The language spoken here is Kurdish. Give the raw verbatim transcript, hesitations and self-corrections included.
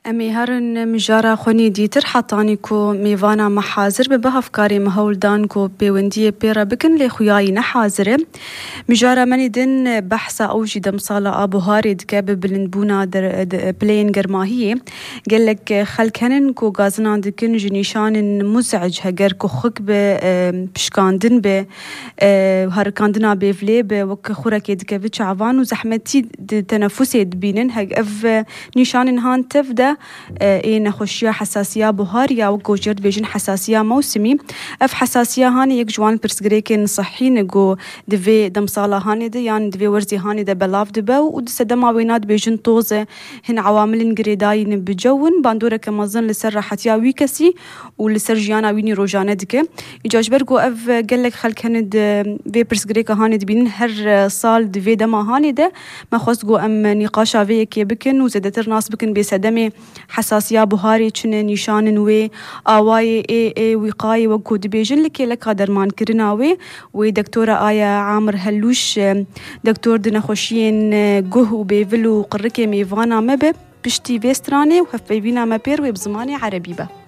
Em ê herin mijara xwe nê dîtir hetanî ku mêvana me hazir bibe, hevkarê me hewl dan ku pêwendiyê pê re bikin, lê xuyayî ne hazir e. Mijara me nê din behsa ew jî demsala a buharê dike bi bilindbûna der-, de-, pileyên germahiyê. Gelek xelk henin ku gazinan dikin ji nîşanin muzec, heger ku xwik bi, e, pişkandin bi, e, herikandina bêvlê bi, wek xurekê dikeve çavan û zehmetî di tenefusê dibînin. Heg-, ev, e, nîşanên han tev de, e, ê nexweşiya hesasiya buhar ya wek gojer dibêjin hesasiya mewsimî. Ev hesasiya hanê yek ji wan pirsgirêkên sihî ne ku di vê demsala hanê de yan di vê werzê hanê de belav dibe û di sedema wêna dibêjin toz e. Hin ewamilên girêdayî ne bi cewin, bandoreke mezin li ser rehetiya wî kesî û li ser jiyana wî nî rojane dike. Îca ji ber ku ev gelek xelk hene di vê pirsgirêka hanê dibînin, her, e, sal di vê dema hanê de me xwest ku em nîqaşa vê yekê bikin û zêdetir nas bikin bê sedemê hesasiya buharê çi ne, nîşanin wê, awayê ê, ê wîqayê wek ku dibêjin li kêleka dermankirina wê, wê doktora Aya Amir Hellûş, e, doktor di nexweşiyên, e, guh û bêvil û qirikê mêvana me be. Piştî vê stranê û hevpeyvîna me pêr wê bi zimanê erebî be.